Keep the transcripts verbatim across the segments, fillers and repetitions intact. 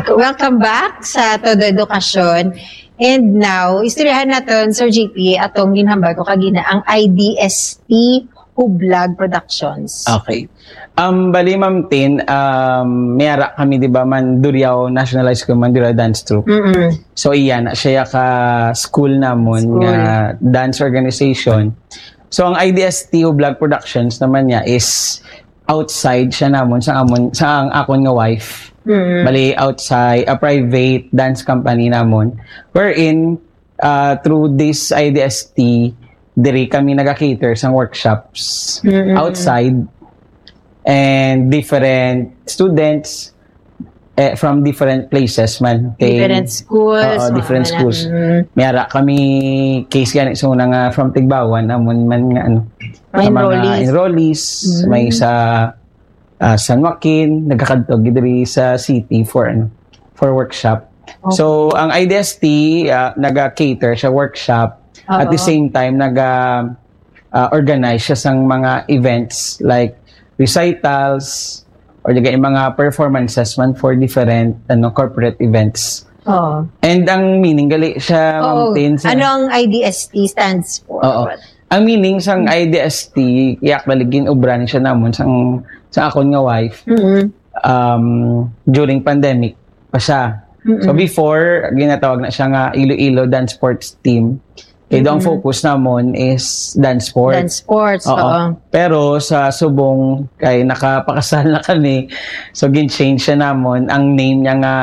Welcome back sa Todo Edukasyon. And now, istoryahan naton, Sir J P, atong ginhambal ko kagina, ang I D S T Hublag Productions. Okay. Um, bali, Ma'am Tin, um, may ara kami, di ba, man, Duriao National High School, man, Duriao Dance Troupe. Mm-mm. So, iya na siya ka school namon School. Nga dance organization. So, ang I D S T Hublag Productions naman niya is outside siya namon sa amon sa ang akon nga wife. Mm. Bali, outside a private dance company namon, wherein uh, through this I D S T, diri kami nag-cater sang workshops Mm-mm. Outside, and different students eh, from different places man. Kay- Different schools. Oo, mga different ano, schools. Mm. May ara kami case gani sa una nga from Tigbauan, amon man nga ano, Mga sa mga enrollees. Enrollees, Mm. may sa ah, San Joaquin, nagakadto gid diri sa city for ano, for workshop. Okay. So, ang I D S T ah, naga-cater siya workshop. At the Oo. Same time, naga ah, organize siya sang mga events like recitals or di kay mga performances man for different ano corporate events. Oo. And ang meaning gali siya, Oo. Ma'am Tin, sa Ano ang I D S T stands for? Oo. Ang meaning sang I D S T, yak bali gin-ubran siya namon sang sa akon nga wife Mm-mm. um during pandemic pa siya. Mm-mm. So before, ginatawag na siya nga Iloilo Dance Sports Team. Kay daw ang Mm-mm. Focus namon is dance sports. Dance sports. Oo. Oo. Pero sa subong kay nakapakasal na kami, so gin-change siya namon ang name niya nga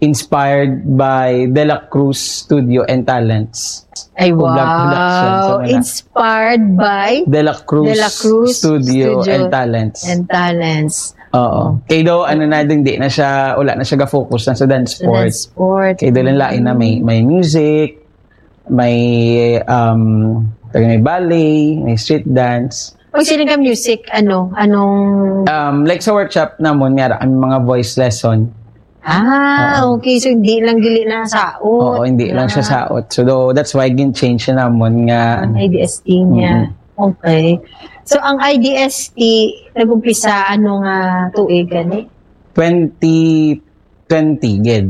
Inspired by De La Cruz Studio and Talents. Ay, Hublag wow. Productions, ano na. Inspired by De La Cruz, De La Cruz Studio, Studio. And Talents. And Talents. Oo. Kay daw, ano na, hindi na siya, wala na siya ga-focus na sa dance Sa dance sports. sport. Kay daw lain na may, may music, may, um, may ballet, may street dance. Pag sila ka music, ano, anong... Um, like sa workshop namon, may ara kami mga voice lesson. Ah, Oo. Okay. So, hindi lang gili na saot. Oo, hindi lang siya Ah. Saot. So, though, that's why gin-change siya namon nga, ano, Ang I D S T niya. Okay. So, ang I D S T, nag-umpisa, ano nga tuig, gani? twenty twenty, gid.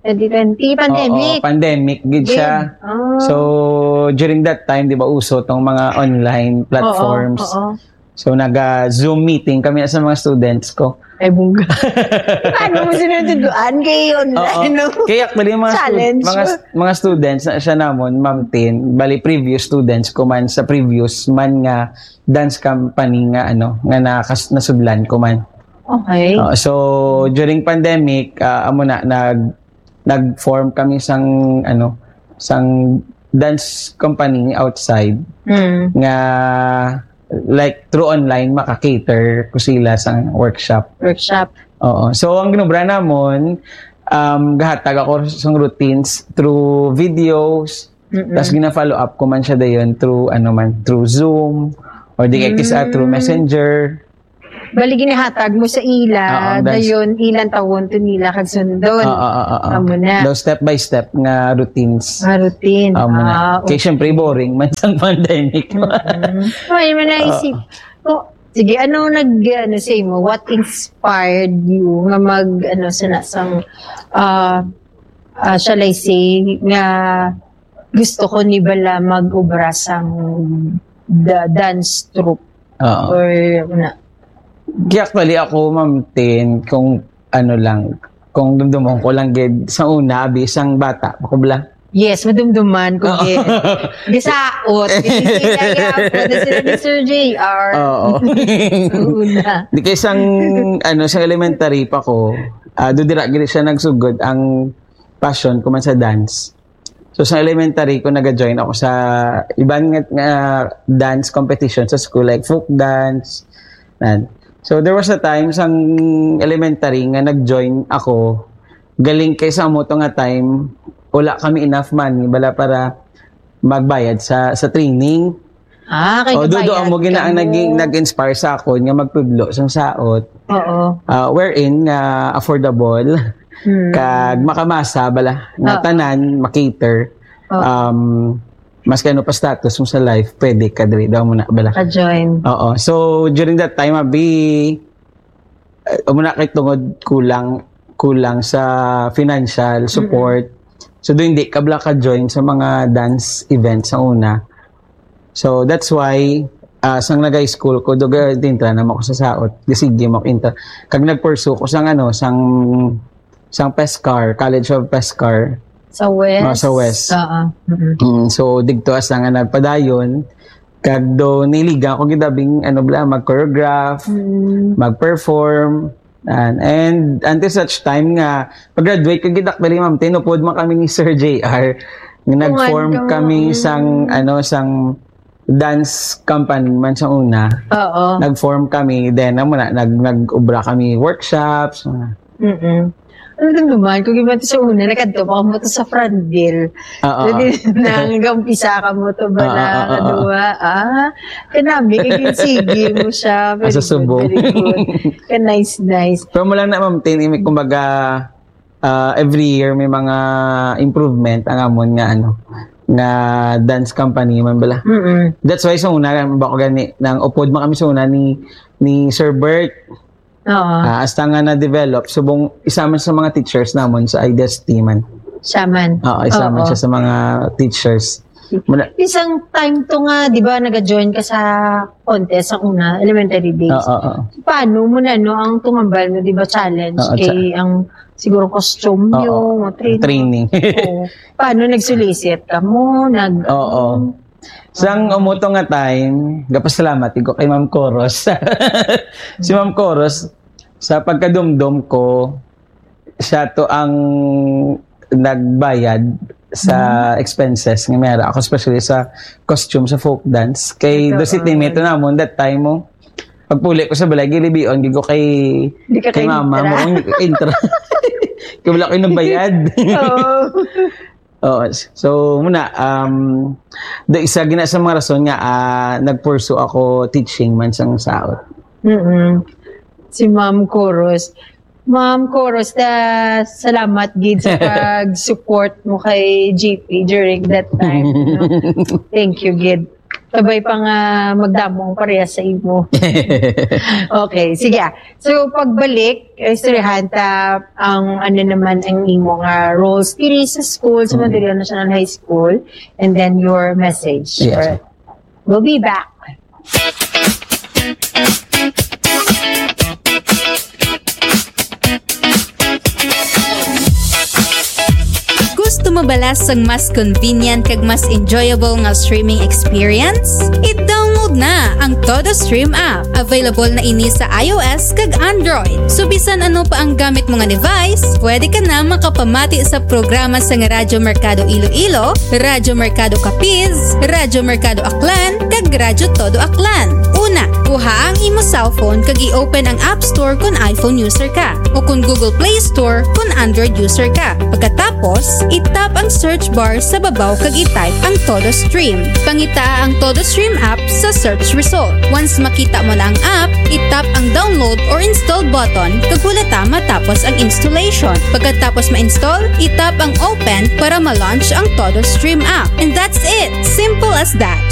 Twenty twenty, pandemic. Oo, pandemic, gid siya. Ah. So, during that time, di ba, uso tong mga online platforms. Oo, oo. So, naga-Zoom meeting kami sa mga students ko. Ay, bungga. Paano mo sinusunduan? Kay online, Oo. no? Kaya actually, mga, stud- Challenge. mga, mga students na siya namon, Ma'am Tin, bali previous students ko man sa previous man nga dance company nga ano, nga nakas nasudlan ko man. Okay. Uh, so during pandemic, uh, amo na nag nag-form kami sang ano, sang dance company outside Mm. nga like through online maka-cater ko sila sa workshop. Workshop. Oo. So ang ginobra namon, um, gahatag ako sang routines through videos. Mm-mm. Tapos gina-follow up ko man siya dayon through ano man, through Zoom or di kay kisa through Mm. Messenger. Bali, ginahatag mo sa ila, Oo, ang dance. Dayon ilang tawon to nila kag sundon. Oo, oo, oo. Amo na. Daw step by step nga routines. Nga routine. Amo na. Ah, Kay syempre boring man sang pandemic. Mm. May man naisip ko, sige, ano nag, ano sa imo? What inspired you nga mag, ano, sa nasang, ah, ah, shall I say, nga gusto ko ni bala mag-obra sang da- dance troupe Oo. or na? Kaya actually ako, Ma'am Tin, kung ano lang, kung dumdumon ko lang gid sa una, abi, sang bata, ako bala. Yes, madumduman ko Oo. gid. Gisaot. Hindi kaya ako na sila ni Sir J R. Oo. Una. Di kay sang, ano, sa elementary pa ko, ah, do dira gid siya nagsugod ang passion ko man sa dance. So sa elementary ko nag-join ako sa iban nga, nga dance competition sa school, like folk dance. Nan. So there was a time sang elementary nga nag-join ako. Galing kay sa amo to nga time, wala kami enough money bala para magbayad sa sa training. Ah, kay O, do, do, kabayad amo gina ang kamo. Naging, nag-inspire sa akon nga magtudlo sang saot. Oo. Ah, wherein nga affordable, Hmm. kag makamasa bala, nga Oo. tanan, makater. Oo. Um, mas kay ano pa status mo sa life, pwede ka diri daw mo na bala. Ka-join. Oo. So, during that time, abi, uh, muna kay tungod kulang kulang sa financial support. So, doon di ka bala ka-join sa mga dance events sa una. So, that's why, ah, sang nag-high school ko, duga, intra naman ko sa saot. Sige mo, intra. Kag nag-pursue ko sang, ano, sang, sang PESCAR, College of PESCAR. Sa West? Oh, sa West. Oo. Mm-mm. Mm, so, digto as nga nagpadayon, kag do niliga ko gidabing, ano bala, mag-choreograph, Mm. mag-perform. And, and until such time nga, pag-graduate ko gid, actually, ma'am, tinupod man kami ni Sir J R. Nga nag-form Kuwan ka, kami mm. sang, ano, sang dance company man sa una. Oo. Nag-form kami, then, amo na, nag-, nag-ubra kami workshops, mga Mm-mm. Ano din naman, kung iba sa una, nakadto pa mo to sa Frandil. Oo. Pwede na, hanggang umpisa ka mo to ba Oo, na, oo, oo. kaduwa? Ah, kanami, kaya sige mo siya. Very Asa good, subong. very good. Ka nice, nice. Pero mo lang na, ma'am, Tin, imi-, kumbaga, ah, every year may mga improvement ang amon nga, ano, nga dance company man bala. Mm-mm. That's why sa una, ba ko gani, nang upod man kami sa una ni, ni Sir Bert. Oo. Ah, hasta nga na-develop, subong isa man sa mga teachers namon sa I D S T man. Siya man. Oo, isa man Oo. siya sa mga teachers. Muna- Isang time to nga, di ba, nag-join ka sa contest sa una, elementary days. Oo, oo. Paano mo na, no, ang tumambal mo, di ba, challenge Oo, kay cha- ang, siguro, costume Oo, nyo, mga training. training. Oo. Paano nag-solicit ka mo? Nag- Oo. Sang Ah. umuto nga time, gapasalamat ko kay Ma'am Coros. Si Ma'am Coros, sa pagkadumdom ko, siya to ang nagbayad sa Mm. expenses nga meron ako, especially sa costume sa folk dance. Kay Ito, do si ah. teammate namon that time mo, pagpuli ko sa balay, gilibion gid ko kay, Di ka kay kay mama intra. mo, ang intra. Kay wala ko nagbayad. Oo. Oo. So, muna, um, do isa gina sa mga rason nga, ah, nag-pursue ako teaching man sang saot. Mm-mm. Si Ma'am Coros. Ma'am Coros, da, salamat gid sa pag-support mo kay J P during that time, no? Thank you gid. Sabay pa nga magdamo ang parehas sa imo. Okay, sige. So, pagbalik, istoryahan ta ang ano naman ang imo nga roles diri sa school, sa Mm. Mandaluyong National High School, and then your message. Yes. Alright. We'll be back. Gusto mo bala sang mas convenient kag mas enjoyable nga streaming experience? I-download na ang Todo Stream app. Available na ini sa I O S kag Android. So, bisan ano pa ang gamit mo nga device, pwede ka na makapamati sa programa sang Radyo Merkado Iloilo, Radyo Merkado Capiz, Radyo Merkado Aklan, kag Radyo Todo Aklan. Una, kuha ang imo cellphone kag i-open ang App Store kon iPhone user ka, o kon Google Play Store kon Android user ka. Pagkatapos, i-tap ang search bar sa babaw kag i-type ang Todo Stream. Pangitaa ang Todo Stream app sa search result. Once makita mo na ang app, i-tap ang download or install button kag hulata matapos ang installation. Pagkatapos ma-install, i-tap ang open para ma-launch ang Todo Stream app. And that's it! Simple as that!